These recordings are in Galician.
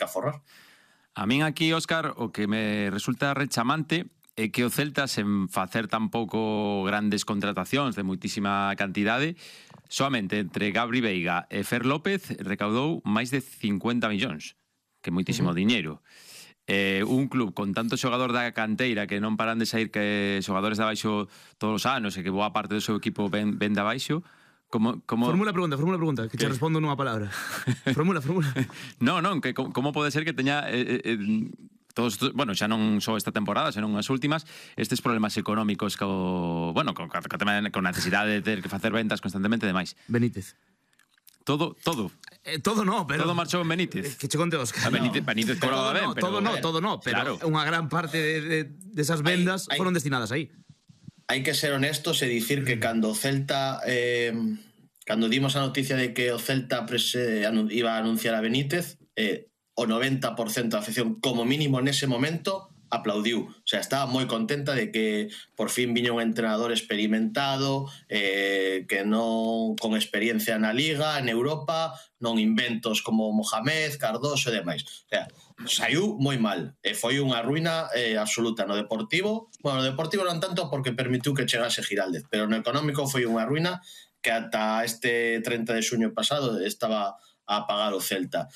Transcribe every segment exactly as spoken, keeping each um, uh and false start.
que aforrar. A min aquí, Óscar, o que me resulta rechamante é que o Celta, sen facer tampouco grandes contratacións de moitísima cantidade, soamente entre Gabri Veiga e Fer López recaudou máis de cincuenta millóns, que é moitísimo uh-huh. diñeiro. Eh, un club con tanto xogador da canteira que non paran de sair que xogadores de abaixo todos os anos e que boa parte do seu equipo ven, ven de abaixo. Como, como... Formula pregunta, formula pregunta, que te respondo nunha palabra. Formula, formula. No, non, que como pode ser que teña eh, eh, todos, bueno, xa non só esta temporada, senón as últimas, estes problemas económicos co, bueno, con, con, con necesidade de ter que facer ventas constantemente e demais. Benítez. Todo, todo. Eh, todo no, pero... Todo marchou en Benítez. Que che conte, Óscar. A Benítez, no. Benítez cobraba ben, no, pero... Todo no, todo no, pero claro. Unha gran parte de, de, de esas vendas hay, hay... foron destinadas aí. Hai que ser honestos e dicir que cando o Celta eh, cando dimos a noticia de que o Celta prese, iba a anunciar a Benítez, eh, o noventa por cento da afección, como mínimo nese momento, aplaudiu. O sea, estaba moi contenta de que por fin viña un entrenador experimentado, eh, que non con experiencia na Liga, en Europa, non inventos como Mohamed, Cardoso e demais. O sea, saiu moi mal e foi unha ruína eh, absoluta no Deportivo. Bueno, no Deportivo non tanto porque permitiu que chegase Giraldez, pero no económico foi unha ruína que ata este treinta de xuño pasado estaba a pagar o Celta.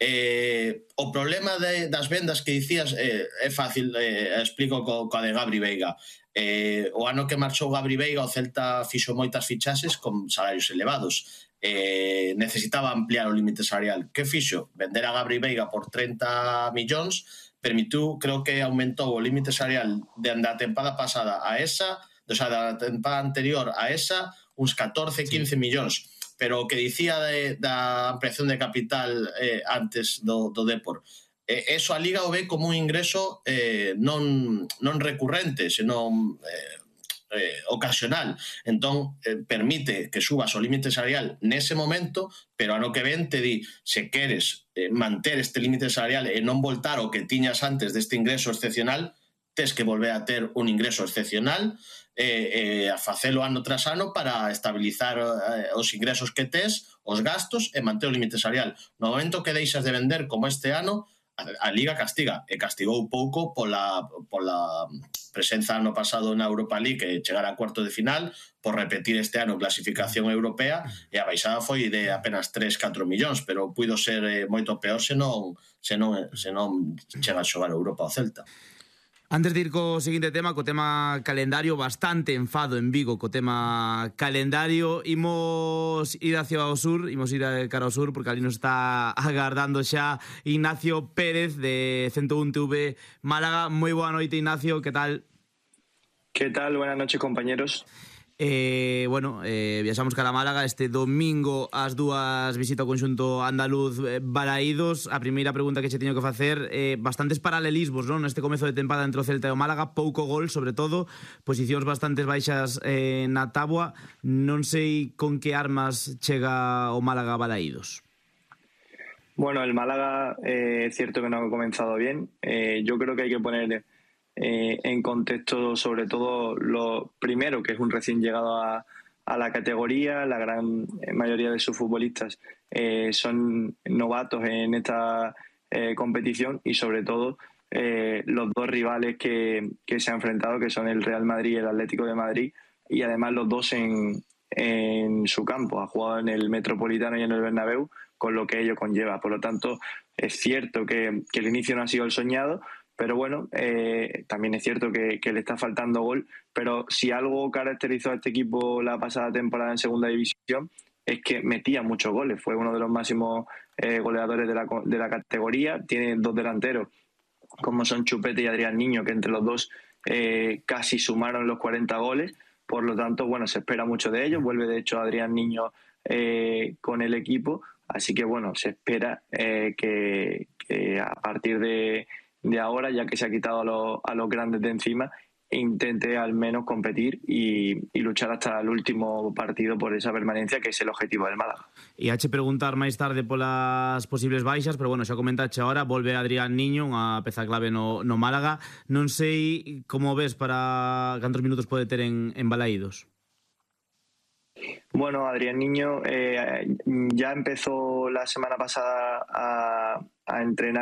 Eh, o problema de, das vendas que dicías eh, é fácil, eh, explico co, coa de Gabri Veiga. Eh, o ano que marchou Gabri Veiga o Celta fixo moitas fichaxes con salarios elevados. Eh, necesitaba ampliar o límite salarial. Que fixo? Vender a Gabri Veiga por treinta millóns permitiu, creo que aumentou o límite salarial de, da tempada pasada a esa, o sea, da tempada anterior a esa, uns catorce, quince sí. millóns. Pero o que dicía de, da ampliación de capital eh, antes do, do Depor, eh, eso a Liga o ve como un ingreso eh, non, non recurrente, senón eh, eh, ocasional. Entón, eh, permite que subas o límite salarial nese momento, pero ano que ven te di, se queres eh, manter este límite salarial e non voltar o que tiñas antes deste ingreso excepcional, tes que volver a ter un ingreso excepcional eh, eh, a facelo ano tras ano para estabilizar eh, os ingresos que tes, os gastos e manter o límite salarial. No momento que deixas de vender como este ano, a, a Liga castiga, e castigou pouco pola, pola presenza ano pasado na Europa League que chegara a cuarto de final, por repetir este ano clasificación europea, e a baixada foi de apenas tres, catro millóns, pero puido ser eh, moito peor se non, se non, se non chega a xogar a Europa o Celta. Antes de ir co seguinte tema, co tema calendario, bastante enfado en Vigo co tema calendario. Imos ir hacia o sur, imos ir a cara ao sur, porque ali nos está agardando xa Ignacio Pérez de ciento un T V Málaga. Moi boa noite, Ignacio, que tal? Que tal? Buenas noches, compañeros. Eh, bueno, eh, viaxamos cara a Málaga este domingo ás dúas, visita o conxunto andaluz eh, Balaídos. A primeira pregunta que che teño que facer, eh, bastantes paralelismos, non? Neste comezo de tempada entre o Celta e o Málaga, pouco gol, sobre todo, posicións bastantes baixas eh, na táboa. Non sei con que armas chega o Málaga a Balaídos. Bueno, el Málaga eh, es cierto que no ha comenzado bien. Eh, yo creo que hay que poner Eh, en contexto sobre todo lo primero, que es un recién llegado a, a la categoría. La gran mayoría de sus futbolistas eh, son novatos en esta eh, competición, y sobre todo eh, los dos rivales que, que se han enfrentado, que son el Real Madrid y el Atlético de Madrid, y además los dos en, en su campo. Ha jugado en el Metropolitano y en el Bernabéu, con lo que ello conlleva. Por lo tanto, es cierto que, que el inicio no ha sido el soñado, pero bueno, eh, también es cierto que, que le está faltando gol. Pero si algo caracterizó a este equipo la pasada temporada en segunda división, es que metía muchos goles. Fue uno de los máximos eh, goleadores de la, de la categoría. Tiene dos delanteros, como son Chupete y Adrián Niño, que entre los dos eh, casi sumaron los cuarenta goles. Por lo tanto, bueno, se espera mucho de ellos. Vuelve, de hecho, Adrián Niño eh, con el equipo. Así que, bueno, se espera eh, que, que a partir de... de ahora, ya que se ha quitado a los, a los grandes de encima, intente al menos competir y, y luchar hasta el último partido por esa permanencia, que es el objetivo del Málaga. E hache preguntar máis tarde polas posibles baixas, pero bueno, xa comentache ahora, volve Adrián Niño, unha peza clave no, no Málaga. Non sei como ves para cantos minutos pode ter en, en Balaídos. Bueno, Adrián Niño eh, ya empezó la semana pasada a, a entrenar